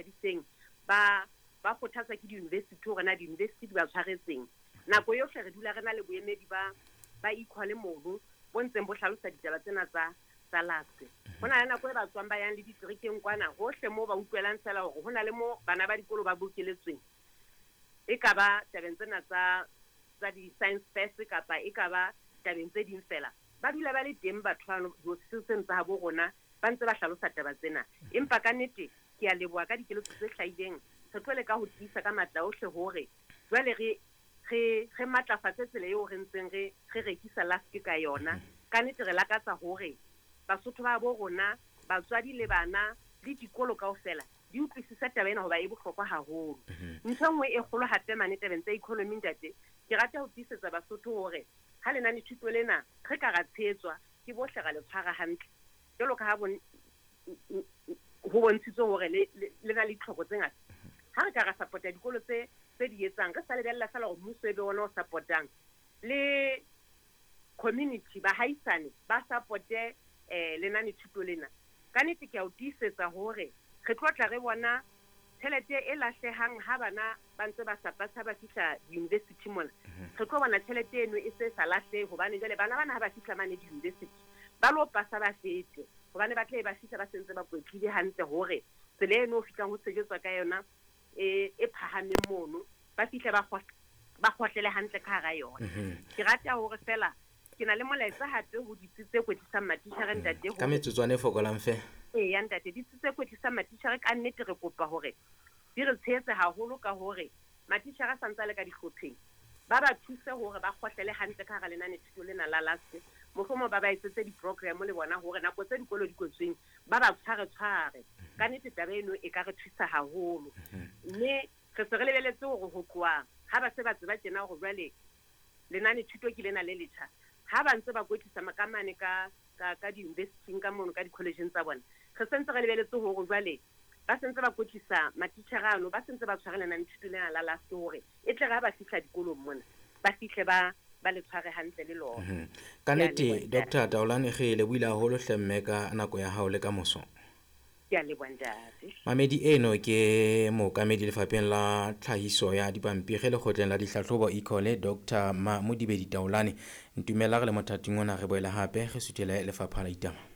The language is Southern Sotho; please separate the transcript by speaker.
Speaker 1: Nthabiseng ba ba kgothatswa ke di-university hore na di-university di ba tshwaretseng. Nako yohle re dula re na le boemedi ba Equal mono bo ntseng bo hlalosa ditaba tsena tsa LASC. Ho na le nako e ba tswang ba yang le diterekeng kwana hohle moo ba utlwelang fela hore ho na le mo bana ba dikolo ba bokeletsweng. E ka ba tabeng tsena tsa di-science fest kapa e ka ba tabeng tse ding fela. Ba dula ba le teng batho bano diofising tsa habo rona ba ntse ba hlalosa taba tsena. Empa ka nnete ke a leboha ka dikeletso tse hlahileng. Re tlo leka ho tiisa ka matla ohle hore jwale re matlafatse tsela eo re ntseng re rekisa LASC ka yona. Ka nnete re lakatsa hore Basotho ba bo rona, batswadi le bana le dikolo kaofela di utlwisise taba ena hoba e bohlokwa haholo. Ntho e nngwe e kgolo hape mane tabeng tsa economy ntate, ke rata ho tiisetsa Basotho hore ha lenanethuto lena re ka ra tshehetswa ke bohle ra le tshwara hantle. Jwalo ka ha ho bontshitswe hore le na le ditlhoko tse ngata. Ha re ka ra support-a dikolo tse di etsang, re sa lebella feela hore mmuso e be ona o support-ang. Le community, bahaisane ba support-e lenanethuto lena. Ka nnete ke a o tiisetsa hore re tlo tla re bona tjhelete e lahlehang ha bana ba ntse ba sa pasa ba fihla di-university mona. Re tlo bona tjhelete eno e se sa lahlehe hobane jwale bana bana ha ba fihla mane di-university ba lo pasa ba fete, hobane ba tle ba fihla ba sentse ba kwetlile hantle hore tsela eno o fihlang ho sejetswa ka yona e phahameng mono, ba fihle ba kgohlele hantle ka hara yona. Ke rata hore fela ke na le molaetsa hape ho ditsi tse kwetlisang matitjhere ntate
Speaker 2: Ka metsotswana e fokolang fe.
Speaker 1: Eya ntate, ditsi tse kwetlisang matitjhere ka nnete re kopa hore di re tshehetse haholo ka hore matitjhere a santse a le ka dihlopheng ba ba thuse hore ba kgohlele hantle ka hara lenanethuto lena la LASC. Mohlomong ba ba etsetse di-program le bona hore nako tse dikolo di kwetsweng ba ba tshware-tshware. Ka nnete taba eno e ka re thusa haholo. Mme re se re lebeletse hore ho tloha ha ba se ba tseba tjena hore jwale lenanethuto ke lena le letjha, ha ba ntse ba kwetlisa ka mane ka di-university-ing ka mono ka di-college-eng tsa bona, re sentse re lebeletse hore jwale ba sentse ba kwetlisa matitjhere ano, ba sentse ba tshware lenanethuto lena la LASC hore e tle re ha ba fihla dikolong mona ba fihle ba le tshware hantle le lona.
Speaker 2: Ka nnete Dr. Taolane re lebohile haholo hle mme ka nako ya hao le ka moso.
Speaker 1: Ke a leboha ntate.
Speaker 2: Mamedi eno ke mookamedi lefapheng la tlhahiso ya dipampiri lekgotleng la dihlahlobo Ecole Dr. Mamodibedi Taolane. Ntumella re le mothating ona re boele hape re suthele lefapha la ditaba.